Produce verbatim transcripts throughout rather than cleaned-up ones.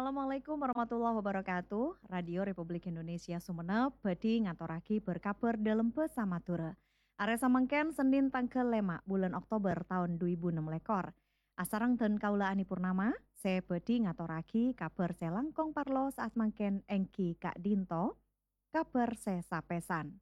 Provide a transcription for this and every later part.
Assalamualaikum warahmatullahi wabarakatuh. Radio Republik Indonesia Sumenep bhâdhi ngatorraghi bâr-kabhâr dâlem bhâsa Madhurâ. Arè samangkèn Sennèn tangghâl lèma' bulân Oktober taon du èbu ennem lèkor. Asareng dân kaulâ Ani Purnama, sè bhâdhi ngatorraghi kabhâr sè langkong parlo sa'at mangkèn èngghi ka'dinto, kabhâr sè sapèsan.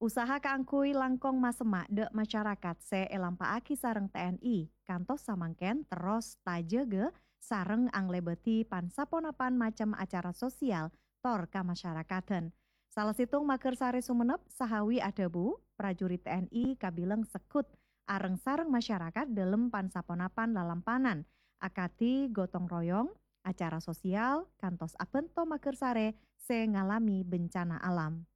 Usaha kaangghuy langkong masemma' dâ' masyarakat sè èlampa'aghi sareng T N I kantos samangkèn terros tajâgâ sareng anglèbâdhi pan-saponapan macem acara sosial tor kamasyarakaddhân. Sala sèttong maghârsarè Sumenep, Sahawi adhâbu, prajurit T N I kabilang segghut areng-sareng masyarakat dâlem pan-saponapan lalampanan, akadhi gotong royong, acara sosial, kantos abhânto maghârsarè sè ngalamè bencana alam.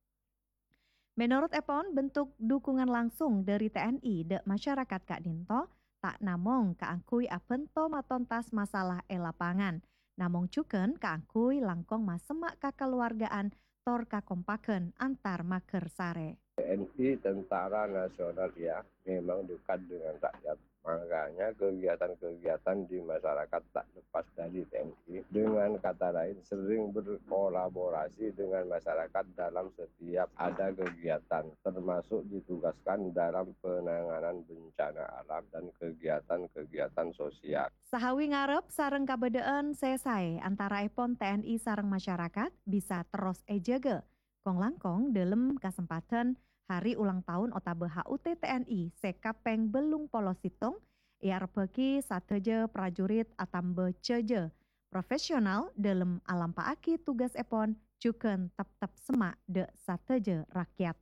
Mènorot èpon, bentuk dukungan langsung dâri T N I dâ' masyarakat ka'dinto ta' namong kaangghuy abhânto matontas masalah è lapangan, namong jhughân kaangghuy langkong masemma' kakaluwargaan tor kakompaghân antar maghârsarè. T N I, Tentara Nasional, ya, memang dekat dengan rakyat. Makanya kegiatan-kegiatan di masyarakat tak lepas dari T N I. Dengan kata lain, sering berkolaborasi dengan masyarakat dalam setiap ada kegiatan, termasuk ditugaskan dalam penanganan bencana alam dan kegiatan-kegiatan sosial. Sahawi ngarep sareng kabâdâ'ân sè saè antaraèpon T N I sareng masyarakat bisa terros èjâgâ, kong-langkong dâlem kasempadhân hari ulang taon otabâ H U T T N I sè kapèng bâllung polo sèttong, èarebbhâghi sadhâjâ prajurit atamba jhâjâ, profesional dâlem alampa'aghi tugasèpon jhughân teptep semma' dâ' sadhâjâ rakyat.